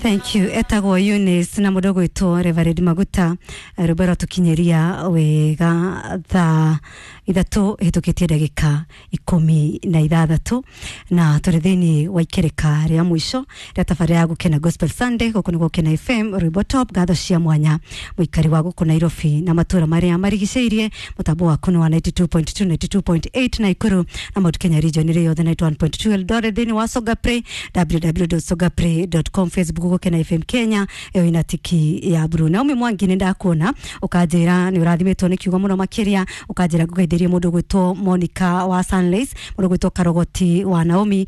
Thank you. Etagwo Eunice na mũndũ ũgwĩtwo Reverend Maguta. Rwĩmbo rwatũkinyĩria wega thaa 3 hĩtũkĩtie ndagĩka 16, na tũrĩ thĩinĩ wa ikereka rĩa mũico rĩa tabarĩra ya Gũkena Gospel Sunday. Gũkũ nĩ Gũkena FM, rwĩmbo top. Ngatho cia mwanya mũikari wa gũkũ Nairobi na matũra marĩa marigicĩirie. Mũtambo waku nĩ wa 92.2, 92.8 Naikuru na Mount Kenya region ĩrĩ yothe, 91.2 Eldoret, thĩinĩ wa Songa Play, www.songapray.com, Facebook Gũkena FM Kenya, ĩyo ina tiki ya blue. Naomi Mwangi, nĩ ndakuona, ũkanjĩra nĩ ũrathimĩtwo nĩ kiugo mũno makĩria. Ũkanjĩra ngũgeithĩrie mũndũ ũgwĩtwo Monica wa Sunlace, mũndũ ũgwĩtwo Karogoti wa Naomi,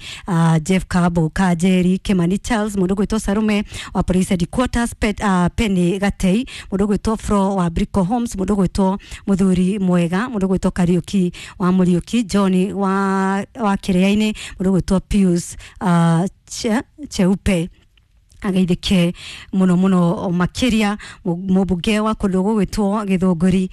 Jeff Kabo Kanjeri, Kimani Charles, mũndũ ũgwĩtwo Sarume wa Police Headquarters, Penny Gatei, mũndũ ũgwĩtwo Fro wa Brico Homes, mũndũ ũgwĩtwo Mũthuri Mwega, mũndũ ũgwĩtwo Kariuki wa Mũriũki, John wa Kĩrĩa-inĩ, mũndũ ũgwĩtwo Pius Cheupe ageithĩke mũno mũno makĩria. Mũmbunge wa kũndũ gũgwĩtwo Gĩthũngũri,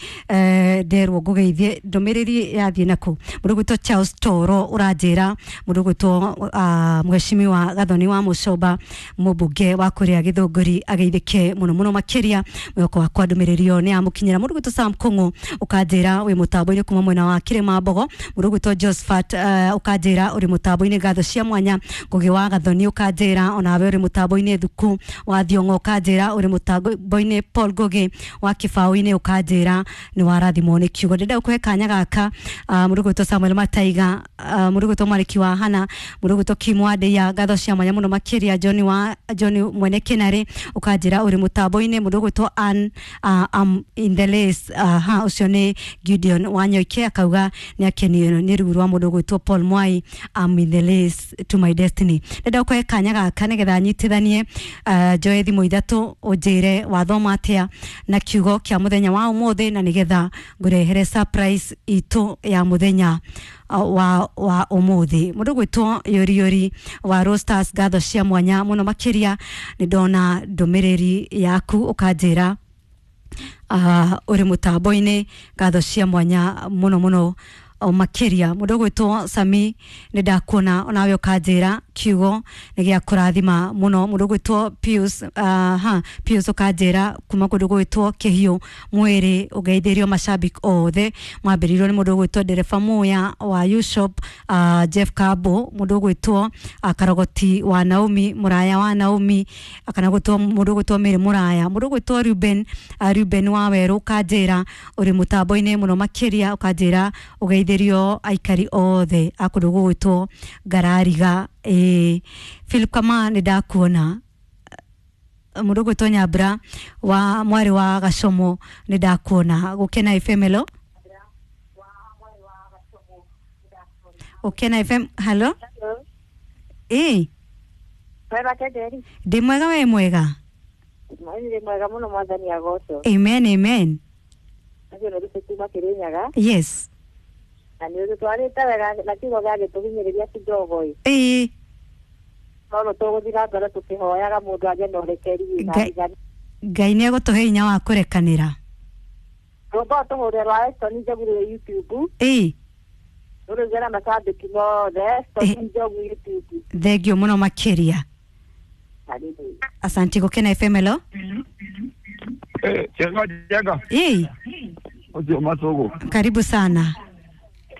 nderwo ngũgeithie. Ndũmĩrĩri yathiĩ nakũ? Mũndũ ũgwĩtwo Charles Toro, ũranjĩra mũndũ ũgwĩtwo Mheshimiwa Gathoni wa Mũcomba, mũmbunge wa kũrĩa Gĩthũngũri, ageithĩke mũno mũno makĩria. Mwĩhoko wakwa ndũmĩrĩri ĩyo nĩ yamũkinyĩra. Mũndũ ũgwĩtwo Sam Kũng'ũ, ũkanjĩra wĩ mũtambo-inĩ kuma mwena wa Kĩrĩma Mbogo. Mũndũ ũgwĩtwo Josephat, ũkanjĩra ũrĩ mũtambo-inĩ. Ngatho cia mwanya. Ngũgĩ wa Gathoni, ũkanjĩra onawe ũrĩ mũtambo-inĩ. Thuku wa Thiong'o, ũkanjĩra ũrĩ mũtambo-inĩ. Paul Ngũgĩ wa Kĩbaũ-inĩ, ũkanjĩra nĩ warathimwo nĩ kiugo. Ndĩrenda gũkũhe kanya gaka. Mũndũ ũgwĩtwo Samuel Mataiga, mũndũ ũgwĩtwo Mariki wa Hana, mũndũ ũgwĩtwo Kim wa Ndeia, ngatho cia mwanya mũno makĩria. John wa John Mwene Kĩnarĩ, ũkanjĩra ũrĩ mũtambo-inĩ. Mũndũ ũgwĩtwo Ann, am in the race, ha ũcio nĩ Gideon Wanyoike, akauga nĩ akenio nĩ rugu rwa mũndũ ũgwĩtwo Paul Mwai, "Am in the race to my destiny". Ndĩrenda gũkũhe kanya gaka nĩgetha nyitithanie, njoe thimũ 3, ũnjĩre wathoma atĩa na kiugo kĩa mũthenya wa ũmũthĩ, na nĩgetha ngũrehere surprise itũ ya mũthenya wa ũmũthĩ. Mũndũ ũgwĩtwo Yori Yori wa Roasters, ngatho cia mwanya mũno makĩria. Nĩ ndona ndũmĩrĩri yaku, ũkanjĩra ũrĩ mũtambo-inĩ. Ngatho cia mwanya mũno mũno o makĩria. Mũndũ ũgwĩtwo Sami, nĩ ndakuona onawe, ũkanjĩra kiugo nĩ gĩa kũrathima mũno. Mũndũ ũgwĩtwo Pius, ha Pius, ũkanjĩra kuma kũndũ gwĩtwo Kĩhiũ mwĩrĩ, ũgeithĩrio mashabiki othe mwambĩrĩirio nĩ mũndũ ũgwĩtwo Ndereba Muya wa Ushop, Jeff Kabo, mũndũ ũgwĩtwo Karogoti wa Naomi, Mũraya wa Naomi, kana gwĩtwo mũndũ ũgwĩtwo Mary Mũraya, mũndũ ũgwĩtwo Ruben, Ruben wa Werũ, ũkanjĩra ũrĩ mũtambo-inĩ mũno makĩria. Ũkanjĩra ũgeithĩrio aikari othe a kũndũ gũgwĩtwo Ngarariga. Ĩĩ, Philip Kama, nĩ ndakuona. Mũndũ ũgwĩtwo Nyambura wa mwarĩ wa Gacomo, nĩ ndakuona. Gũkena FM, hello. Gũkena FM, hello. Ĩĩ. Mwega Tenderi? Ndĩ mwega, we mwega? Ndĩ mwega mũno, mwathani agocwo. Amen, amen. Acio nĩ rũce kuma Kĩrĩnyaga. Yes. Na nĩ ũtũtwarĩte wega na kiugo gĩagĩtũhinyĩrĩria kidogo ĩ. No no tũgũthiĩ na mbere tũkĩhoyaga mũndũ agĩe na ũrekeri na Ngai nĩ egũtũhe hinya wa kũrekanĩra. Rwĩmbo tũhũre rwa Eston Njogu rwĩ YouTube. Rũrũige na macambĩki mothe, Eston Njogu YouTube. Thengio mũno makĩria. Karibu. Asanti. Gũkena FM, hello. Chenga chenga. Ĩĩ. Ũcio Macũgũ. Karibu sana.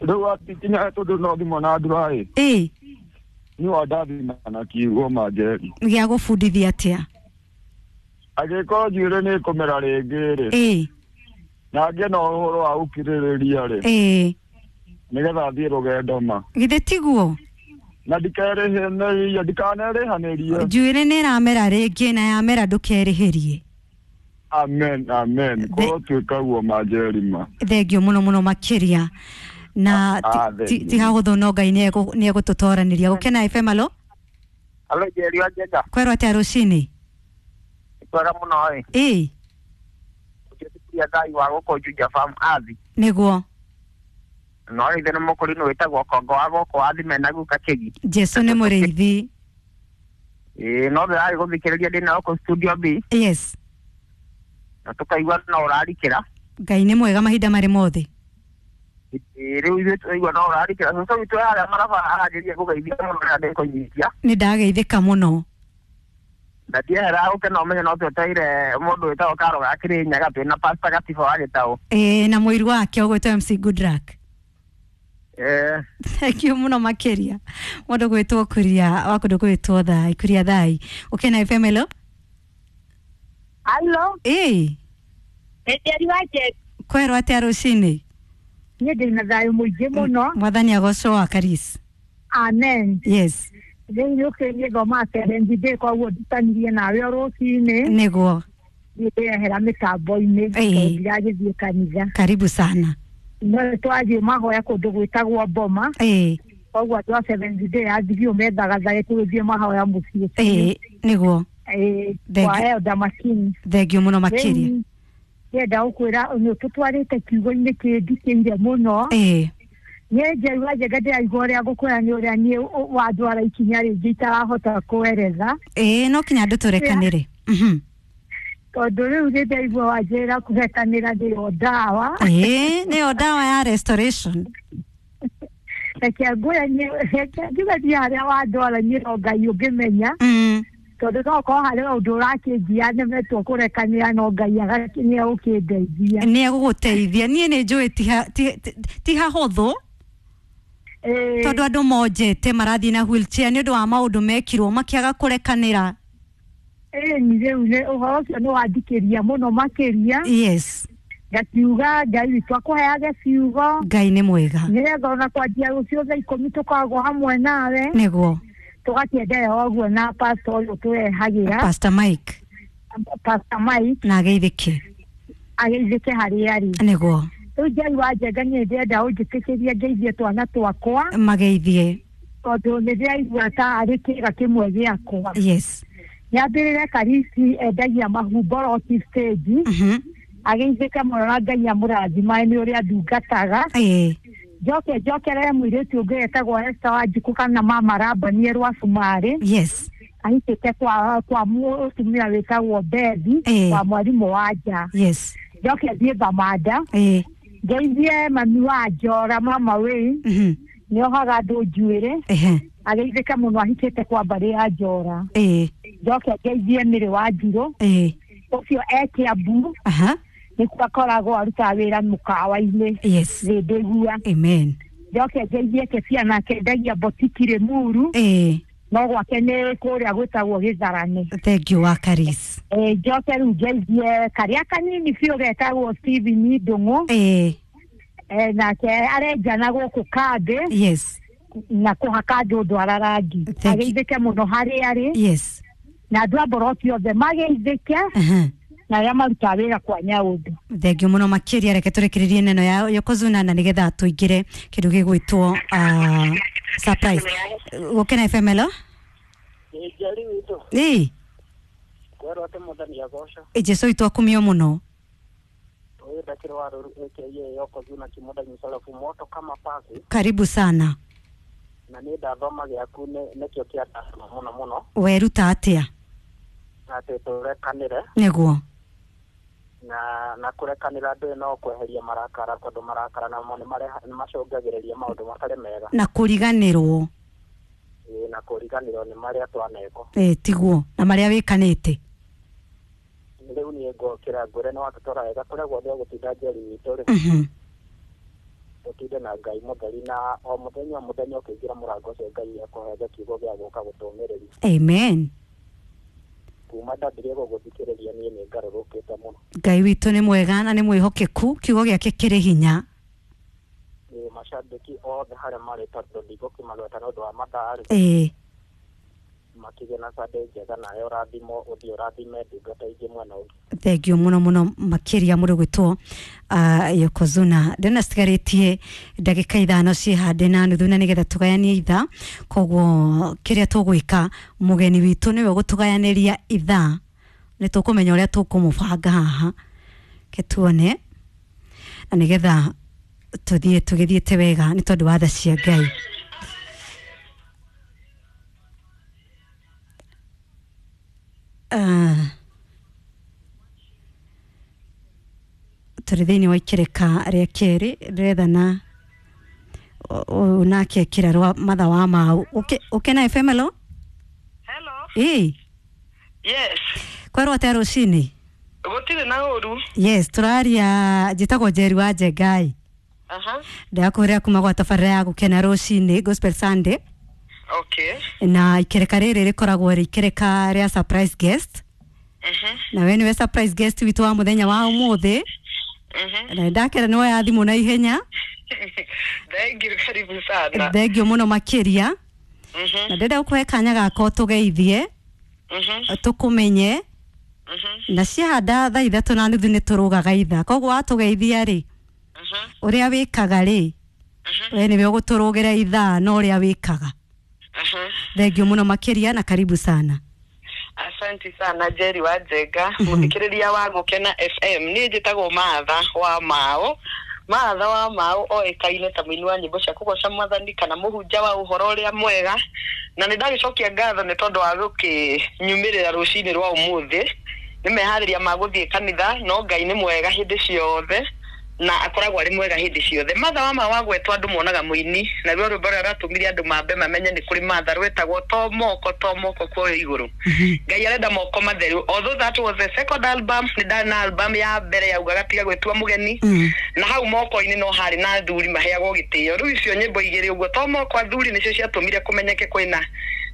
Rĩu atikinya tondũ no thimũ na ndura ĩ. Nĩ wandathima na kiugo manjeri. Gĩa gũbundithia atĩa? Angĩkorwo njuĩrĩ nĩ ĩkũmera rĩngĩ rĩ. Na ngĩe na ũhoro wa gũkirĩrĩria rĩ. Nĩgetha thiĩ rũgendo ma. Githĩ tiguo? Na ndikerĩhĩnĩrie, ndikanerĩhanĩrie. Njuĩrĩ nĩ ĩramera rĩngĩ, na yamera ndũkerĩhĩrie. Amen, amen. Korwo tuĩka guo manjeri ma. Thengio mũno mũno makĩria na Thengio. ti hahũthũ, no Ngai nĩ egũtũtoranĩria. Gũkena FM, alo. Alo, Njeri wa Njenga. Kwerwo atĩa rũcinĩ? Kwega mũno ĩ. Ũkĩturia Ngai wa gũkũ Juja Farm Athi. Nĩguo. No ithe nĩ mũkũrinũ wĩtagwo Kongo wa gũkũ Athi mena guka Kĩgi. Jesu nĩ mũrĩithi. Ĩ, no ndĩrarĩ gũthikĩrĩria ndĩna gũkũ studio B. Yes. Na tũkaigua no ũrarikĩra. Ngai nĩ mwega mahinda marĩ mothe. Ĩ, rĩu ithuĩ tũraigua no ũrarikĩra. Cũcũ witũ harĩa maraba aranjĩria gũgeithia mũno rĩrĩa ndĩkũnyitia. Nĩ ndageithĩka mũno. Na ndiehera ũke no menye no twetereire mũndũ wĩtagwo Karo ga Kĩrĩnyaga twĩna Pastor Gatiba wa Gĩtaũ. Ĩĩ, na mũiru wake ũgwĩtwo MC Goodluck. Thank you muno makiria. Mũndũ gwĩtwo Kuria wa kũndũ gwĩtwo Thai, Kuria Thai. Ũkena FM, hello. Hello. Ĩĩ. Njeri wa Njeri. Kwerwo atĩa rũcinĩ? Niĩ ndĩ na thayũ mũingĩ mũno. Mwathani agocwo wa Karis. Amen. Yes. Rĩu nĩ ũkĩniĩ thomaga seventh day koguo ndutanirie nawe o rũcinĩ. Nĩguo. Niĩ ndĩrehera mĩtambo-inĩ tondũ ndiragĩthiĩ kanitha. Karibu sana. No twathiĩ mahoya kũndũ gwĩtagwo Boma. Koguo andũ a seventh day athiĩ methagathaga tũgĩthiĩ mahoya mũciĩ. Nĩguo. Kwa Elder Makini. Thengiũ mũno makĩria. Ndĩrenda gũkwĩra nĩ ũtũtwarĩte kiugo-inĩ kĩndikĩire mũno. Niĩ Njeri wa Njenga ndĩraigua ũrĩa ngũkwĩra nĩ ũrĩa niĩ wandwara ikinya rĩngĩ itarahota kũereza. No kinya andũ tũrekanĩre. Tondũ rĩu nĩ ndaigua wanjĩra kũrekanĩra nĩyo ndawa. Nĩyo ndawa ya restoration. Reke ngwĩre reke njuge niĩ harĩa wandwara niĩ no Ngai ũngĩmenya. Tondũ no ũkorwo harĩ ũndũ ũrakĩnjia nemetwo kũrekanĩra no Ngai nĩ egũkĩndeithia. Nĩ egũgũteithia. Niĩ nĩ njũĩ ti hahũthũ. Tondũ andũ monjete marathiĩ na wheelchair nĩ ũndũ wa maũndũ mekirwo makĩaga kũrekanĩra. Ĩni rĩu nĩ ũhoro ũcio nĩ wandikĩria mũno makĩria. Yes. Ngakiuga Ngai witũ akũheage ciugo. Ngai nĩ mwega. Nĩgetha ona kwanjia rũciũ thaa 10 tũkoragwo hamwe nawe. Nĩguo. Tũgakĩenderea ũguo na pastor ũyũ tũrehagĩra. Pastor Mike. Pastor Mike. Na ageithĩke. Ageithĩke harĩa arĩ. Nĩguo. Rĩu Njeri wa Njenga niĩ ndĩrenda ũnjĩtĩkĩrie ngeithie twana twakwa. Mageithie. Tondũ nĩ ndĩraigua ta arĩ kĩĩga kĩmwe gĩakwa. Yes. Nyambĩrĩre Karisi endagia mahumboroti stage. Ageithĩke mũno na Ngai amũrathimae nĩ ũrĩa ndungataga. Njoke njokerere mũirĩtu ũngĩ wetagwo Esther Wanjikũ kana mama Rabanie rwa Cumarĩ. Yes. Ahikĩte kwa mũtumia wĩtagwo Bethi wa mwarimũ wa nja. Yes. Njoke thiĩ Thamanda. Ngeithie mami wa Njora mama Wayne. Nĩohaga andũ njuĩrĩ. Ageithĩke mũno ahikĩte kwa mbarĩ ya Njora. Njoke ngeithie Mĩrĩ wa Njirũ. Ũcio e Kĩambu. Nĩkuo akoragwo arutaga wĩra mũkawa-inĩ. Yes. Thĩndĩgua. Amen. Njoke ngeithie Kebia nake endagia botiki Rĩmuru. No gwake nĩ kũrĩa gwĩtagwo Gĩtharane. Thank you wa Karis. Njoke rĩu ngeithie karĩa kanini biũ getagwo Steven Ndũng'ũ. Nake arenjana gũkũ kambĩ. Yes. Na kũhaka andũ ndwara rangi. Ageithĩke mũno harĩa arĩ. Yes. Na andũ a Mboroti othe mageithĩke. Na arĩa marutaga wĩra kwa Nyaũndũ. Thengiũ mũno makĩria. Reke tũrekererie neno ya Yokozuna na nĩgetha tũingĩre kĩndũ gĩgwĩtwo surprise. Gũkena FM, hello. Njeri witũ. Ĩĩ. Kwerwo atĩ Mwathani agocwo. Jesũ witũ akumio mũno. Ũyũ ndakĩrĩ wa rũru aka Yokozuna Kĩmũndanyi Sarafu moto kama pasi. Karibu sana. Na niĩ ndathoma gĩaku nĩkĩo kĩandathoma mũno mũno. Weruta atĩa? Atĩ tũrekanĩre. Nĩguo. Na kũrekanĩra andũ no kweheria marakara tondũ marakara namo nĩ macũngagĩrĩria maũndũ matarĩ mega. Na kũriganĩrwo. Na kũriganĩrwo nĩ marĩa twanekwo. Tiguo. Na marĩa wĩkanĩte. Rĩu niĩ ngokĩra ngwĩre nĩ watũtwara wega kũrĩa guothe ũgũtinda Njeri witũ rĩ. Ũtinde na Ngai mũtheri na o mũthenya o mũthenya ũkĩingĩra mũrango ũcio Ngai ekũhege kiugo gĩa gũka gũtũmĩrĩria. Amen. Kuma ndambirie gũgũthikĩrĩria niĩ nĩ ngarũrũkĩte mũno. Ngai witũ nĩ mwega na nĩ mwĩhokeku, kiugo gĩake kĩrĩ hinya. Nĩ macambĩki othe harĩa marĩ tondũ ndigũkĩmagweta nĩ ũndũ wa mathaa rĩ. Makĩgĩa na Sunday njega nawe ũrathimwo ũthiĩ ũrathime ndungata ingĩ mwena ũngĩ. Thengiũ mũno mũno makĩria mũndũ gwĩtwo Yokozuna. Ndĩrona citigarĩtie ndagĩka 5 ciĩhande na nuthu na nĩgetha tũgayanie ithaa. Koguo kĩrĩa tũgwĩka mũgeni witũ nĩwe ũgũtũgayanĩria ithaa. Nĩ tũkũmenya ũrĩa tũkũmũbanga haha. Ke tuone na nĩgetha tũthiĩ tũgĩthiĩte wega nĩ tondũ wa tha cia Ngai. Tũrĩ thĩinĩ wa ikĩrĩka rĩa kerĩ ndĩrethana nake ekĩra rwa matha wa mau. Ũkena FM, hello. Hello. Ĩĩ. Yes. Kwerwo atia rucini? Gutire na uru. Yes, turaria njitagwo Njeri wa Njengai. Aha. Ndakuria kuma gwa tabarĩra ya gukena rucini Gospel Sunday. Okay. Na ikereka rĩrĩ rĩkoragwo rĩ ikereka rĩa surprise guest. Na we nĩwe surprise guest witũ wa mũthenya wa ũmũthĩ. Na ndakera nĩ woya thimũ na ihenya. Thank you, karibu sana. Thank you mũno makĩria. Na ndĩrenda gũkũhe kanya gaka ũtũgeithie, tũkũmenye. Na ciahanda thaa 3:30 nĩ tũrũgaga ithaa, koguo watũgeithia rĩ, ũrĩa wĩkaga rĩ, we nĩwe ũgũtũrũgĩra ithaa na ũrĩa wĩkaga. Thank you mũno makĩria na karibu sana. Asante sana Jerry wa Njenga, muthikiriria wa Gukena FM. Niĩ njĩtagwo Martha wa Mao. Martha wa Mao oĩkaine ta mũini wa nyĩmbo cia kũgoca Mwathani kana mũhunjia wa ũhoro ũrĩa mwega, na nĩ ndagĩcokia ngatho nĩ tondũ wa gũkĩnyumĩrĩra rũcinĩ rwa ũmũthĩ. Nĩ meharĩria ma gũthiĩ kanitha, no Ngai nĩ mwega hĩndĩ ciothe na akoragwo arĩ mwega hĩndĩ ciothe. Martha wa Mao wagwetwo andũ monaga mũini, na ruo rwĩmbo rũrĩa rwatũmire andũ mambe mamenye nĩ kũrĩ Martha rwetagwo to moko to moko kuoyo igũrũ. Ngai arenda moko matheru. Although that was the second album, nĩ ndarĩ na album ya mbere yaugaga tiga gwĩtua mũgeni, na hau moko-inĩ no harĩ na athuri maheagwo gĩtĩo. Rĩu icio nyĩmbo igĩrĩ ũguo to moko athuri nĩcio ciatũmire kũmenyeke kwĩna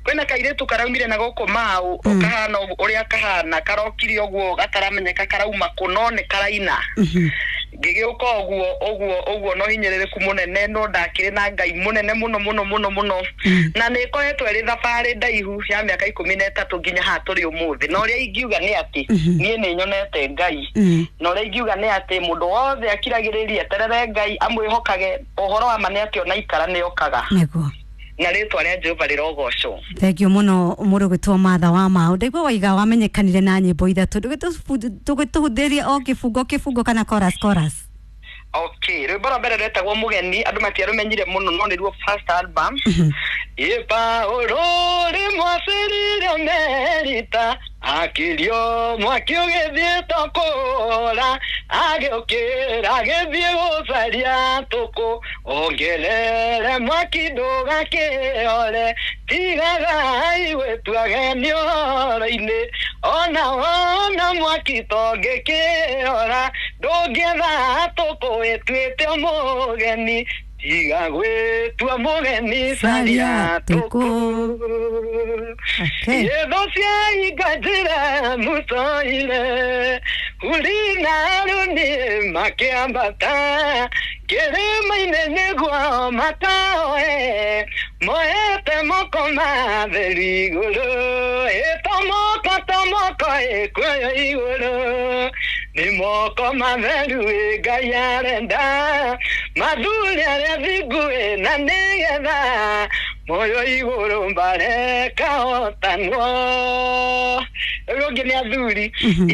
kairĩtu karaumire na gũkũ Mau, kahana ũrĩa kahana karokire ũguo gataramenyeka karauma kũ, no nĩ karaina. Ngĩgĩũka ũguo ũguo ũguo no hinyĩrĩrĩku mũnene, no ndakĩrĩ na Ngai mũnene mũno mũno mũno mũno. Na nĩ ĩkoretwo ĩrĩ thabarĩ ndaihu ya mĩaka 13 nginya haha tũrĩ ũmũthĩ. Na ũrĩa ingiuga nĩ atĩ niĩ nĩ nyonete Ngai, na ũrĩa ingiuga nĩ atĩ mũndũ wothe akiragĩrĩrie eterere Ngai amwĩhokage, ũhoro wa ma nĩ atĩ ona ikara nĩ okaga. Nĩguo. Na rĩtwa rĩa Jehova rĩrogocwo. Thank you mũno mũndũ gwĩtwo Martha wa Mao. Ndaigua waiga wamenyekanire na nyĩmbo ithatũ, ndũgĩtũhutĩrie o kĩbungo kĩbungo kana chorus chorus. Okay, rwĩmbo rwa mbere rwetagwo Mũgeni, andũ matiarũmenyire mũno no nĩruo first album. Ĩ Paũlũ rĩmwacĩrire Merita, akĩrio mwaki ũgĩthiĩ tũkũra, agĩũkĩra agĩthiĩ gũcaria tũkũ, ongerere mwaki ndũgakĩore, tigagai gwĩtua ageni ũhoro-inĩ, ona wona mwaki tongĩkĩora, ndũngĩetha tũkũ ĩtuĩte mũgeni, tiga gwĩtua mũgeni caria tũkũ. Yetho ciainga njĩra mũtoire, Huri na Harũni makĩambata, kĩrĩma-inĩ nĩguo makaoe, moete moko matheru igũrũ, ĩ to moko to moko ĩkuoyo igũrũ, nĩ moko matheru ĩ Ngai arenda, mathuri arĩa thingu ĩ na nĩgetha moyo igũrũ mbare kahotanwo. Ũyũ ũngĩ nĩ athuri.